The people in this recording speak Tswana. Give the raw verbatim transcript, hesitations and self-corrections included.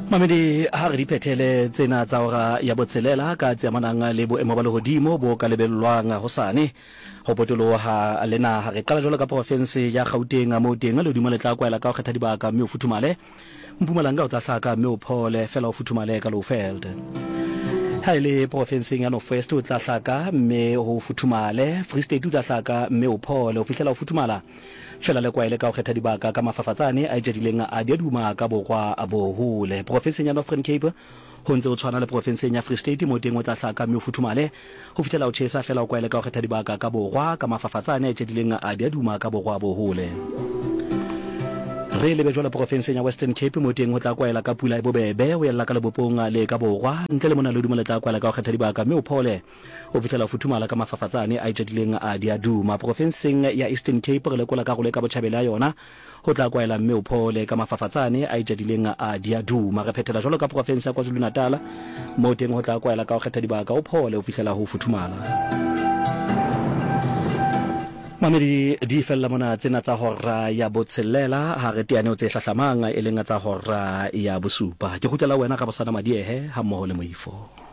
Mamedi, ha re di phethele tsena tsa hora ya botshelela ka tse amanang le boemo ba lehodimo bo ka lebellwang hosane ho potoloha le naha. Re qala jwalo ka porofense ya Gauteng, moo teng lehodimo le tla kwaela ka ho kgetha dibaka mme o futhumale. Mpumalanga o tla hlaka mme o phole, fela o futhumale ka Lowveld. Ha e le porofenseng ya North West o tla hlaka mme ho futhumale. Free State o tla hlaka mme o phole ho fihlela o futhumala, fela le kwaele ka ho kgetha dibaka ka mafafatsane a itjadileng a diaduma ka borwa bo hole. Porofenseng ya Northern Cape ho ntse ho tshwana le porofenseng ya Free State, moo teng o tla hlaka mme o futhumale ho fihlela o tjhesa, fela o kwaele ka ho kgetha dibaka ka borwa ka mafafatsane a itjadileng a diaduma ka borwa bo hole. Re lebe jwale porofenseng ya Western Cape, moo teng ho tla kwaela ka pula e bobebe ho ella ka lebopong le ka borwa. Ntle le mona lehodimo le tla kwaela ka ho kgetha dibaka mme o phole ho fihlela o futhumala ka mafafatsane a itjadileng a diaduma. Porofenseng ya Eastern Cape re lekola karolo e ka botjhabela ya yona, ho tla kwaela mme o phole ka mafafatsane a itjadileng a diaduma. Re phethela jwalo ka porofense ya KwaZulu-Natal, moo teng ho tla kwaela ka ho kgetha dibaka o phole ho fihlela ho futhumala. Mamedi, di fella mona tsena tsa hora ya botshelela, ha re teane ho tse hlahlamang e leng tsa hora ya bosupa. Ke kgutlela wena Rabosana Madiehe ha mmoho le Moifo.